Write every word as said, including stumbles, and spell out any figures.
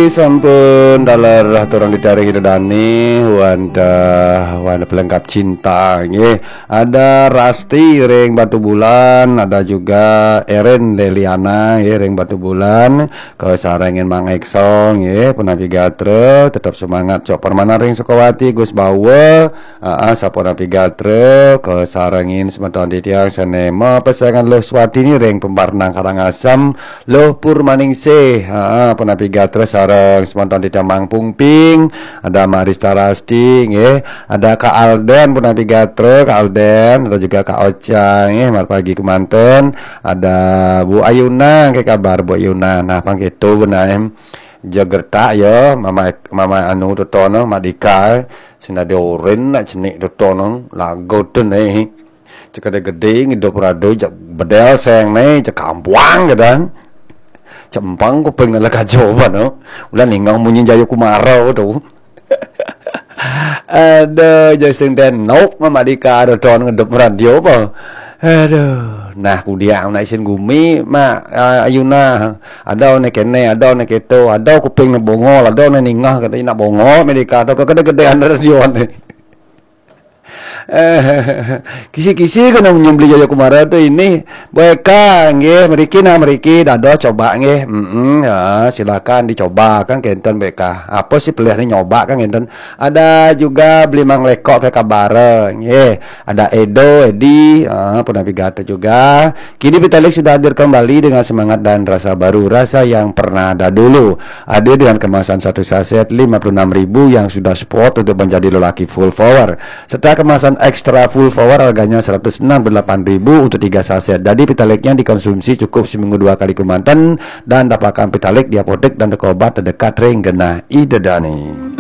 Sampun daler aturang ditaring Ida Dani, wantah, wantah pelengkap cinta, nggih. Ada Rasti ring Batubulan, ada juga Erin Leliana, nggih, ring Batubulan. Kasarengin Mang Ekso, nggih, punapi gatra, tetap semangat, Cok Permana ring Sukawati, Gus Bawa, aa, sapunapi gatra, kasarengin semeton titiang sane mapesengan Luh Swatini ring Pembarnang Karangasem, Luh Purmaningsih, aa, punapi gatra sareng semeton titiang Mang Pungping, ada Marista Rasti, nggih, ada Kak Alden, punapi gatra, Kak Alden, ada juga Kak Ocha, nggih, marpagi kemanten, ada Bu Ayuna, nggih, kabar Bu Ayuna. Nah, pang keto benaem. Jagertak ya, mama, mama anu totono, Madika, sing dadi orin nak cenik totono, lagu tu ne. Cek ada gede, ngidup rado, cek bedel seng ne, cek kampuang kadang. Cempang kuping nala kajo bano. Ulah ningang munyi Jayo Kumara tu. Aduh, jadi sing denok, Mama Dika ada ton ngedup radio apa? Aduh, nah, kudiang nak isin gumi, Mak, ah, Ayuna. Ada ne kene, ada ne keto, ada kuping ne bongol, ada ne ningah, kata nak bongol, Mama Dika, ada kegede-gedean radio ne. Eh, kisi-kisi kena nyembeli Jayo Kumara tu ini. Baik, nggih, mriki nah, mriki, dados coba, nggih. Mm-mm, ya, silakan dicoba, kan, kenten, baik. Apa sih pilihannya nyoba, kan, kenten. Ada juga beli Mang Lekok ke kabar, nggih. Ada Edo, Edi, ah, punapi gatra juga. Kini Vitalik sudah hadir kembali dengan semangat dan rasa baru, rasa yang pernah ada dulu. Hadir dengan kemasan satu saset lima puluh enam ribu yang sudah spot untuk menjadi lelaki full power. Serta kemasan ekstra full power harganya seratus enam puluh delapan ribu untuk tiga saset. Jadi Vitaliknya dikonsumsi cukup seminggu dua kali kemanten dan dapatkan Vitalik di apotek dan toko obat terdekat ring genah Ida Dani.